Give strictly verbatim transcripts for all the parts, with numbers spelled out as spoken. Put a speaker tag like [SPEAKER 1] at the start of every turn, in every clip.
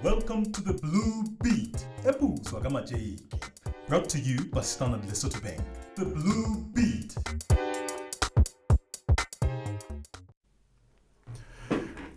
[SPEAKER 1] Welcome to the Blue Beat, e putswa ka matjeke. Brought to you by Standard Lesotho Bank. The Blue Beat.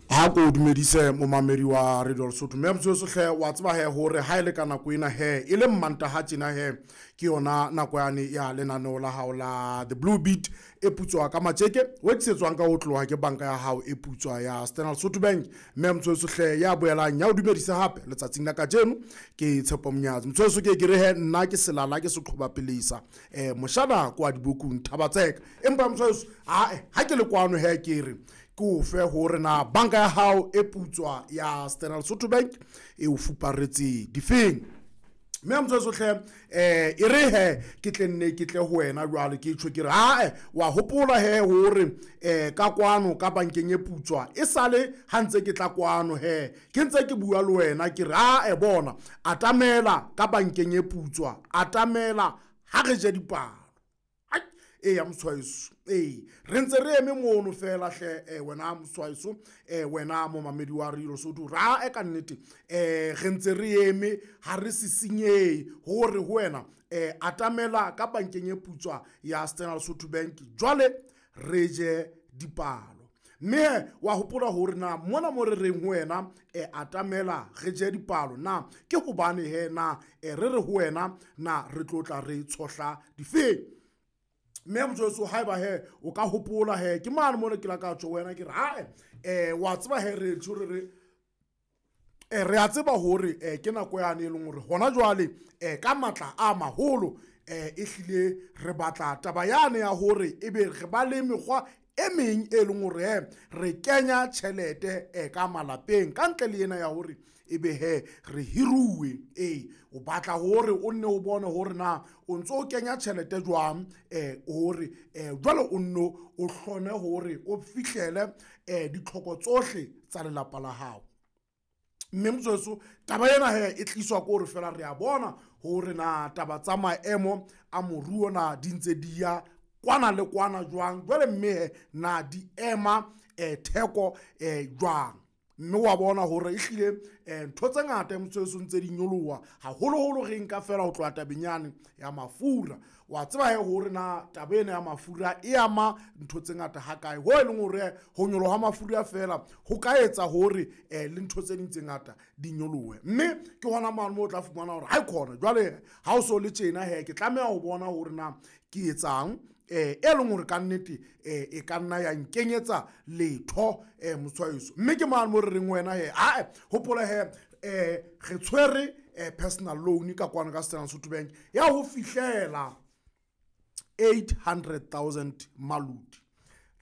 [SPEAKER 2] Ha ko dumedise momamedi wa Radio Lesotho, mme motho hle wa tseba he hore ha ile ka nako ena he e le Mmantaha tjena he ke yona nako yane ya lenaneo la hao la The Blue Beat e putswa ka matjeke o tlisetswang ka ho tloha ke banka ya hao e putswa ya Standard Lesotho Bank. Mme motho hle ya boelang ya o dumedisa hape letsatsing la kajeno ke Tshepo Mnyatsi. Motho ke ke re he nna ke selala ke seqhoba pelesa eh moshana kwa dibukung Thabatseka, empa motho ha ha ke le kwano he ke re ke o fe hore na banka ya hao e putswa ya Standard Lesotho Bank e o fuparetse difeng. Mme motho hle eh e re he ke tle nne ke tle ho wena jwale ke tjho ke re ha wa hopola he hore eh ka kwano ka bankeng e putswa e sale ha ntse ke tla kwano he ke ntse ke bua le wena ke re ha e bona atamela ka bankeng e putswa atamela ha re je dipalo e ya moswaiso e re ntse re eme mono fela hle eh wena moswaiso eh wena momamedi wa Radio Lesotho ra e ka nnete eh re ntse re eme ha re sisinye hore ho wena eh atamela ka bankeng e putswa ya Standard Lesotho Bank jwale re je dipalo. Mme wa hopola hore na mona mo re reng ho wena e atamela re je dipalo na ke hobane he na re re ho wena na re tlotla re tshohla difeng. Mme motho haeba he o ka hopola he ke mane mona ke la ka tjho wena ke re ha eh wa tseba he re tjho re re eh re a tseba hore eh ke nako yane e leng hore hona jwale eh ka matla a maholo eh e hlile re batla taba yane ya hore ebe re ba le mekgwa e meng e leng hore re kenya tjhelete e ka malapeng ka ntle le ena ya hore ebe he re hiruwe. E o batla hore o nne o bone hore na o ntso o kenya tjhelete jwang eh hore eh jwale o nno o hlone hore o fihlele eh ditlhoko tsohle tsa lelapa la hao. Mme motsoetso taba ena he e tliswa ke hore fela re a bona hore na taba tsa maemo a moruo na di ntse di ya kwana le kwana jwang jwale mme na di ema eh theko eh jwang. Mme wa bona hore e hlile eh ntho tse ngata motsoetso ntse di nyoloha haholoholo re nka fela ho tloha tabenyane ya mafura. Wa tseba he hore na taba ena ya mafura e ama ntho tse ngata ha kae ho e leng hore ho nyoloha mafura fela ho ka etsa hore eh le ntho tse ding tse ngata di nyolohe. Mme ke hona mane mo o tla fumana hore ha e khona jwale ha o so le tjena he ke tlameha ho bona hore na ke etsang eh e leng hore ka nnete eh e ka nna ya nkenyetsa letho eh motshwaetso. Mme ke mane mo re reng wena he a hopola he eh re tshwere personal loan ka kwano ka Standard Lesotho Bank ya ho fihlela eight hundred thousand malodi.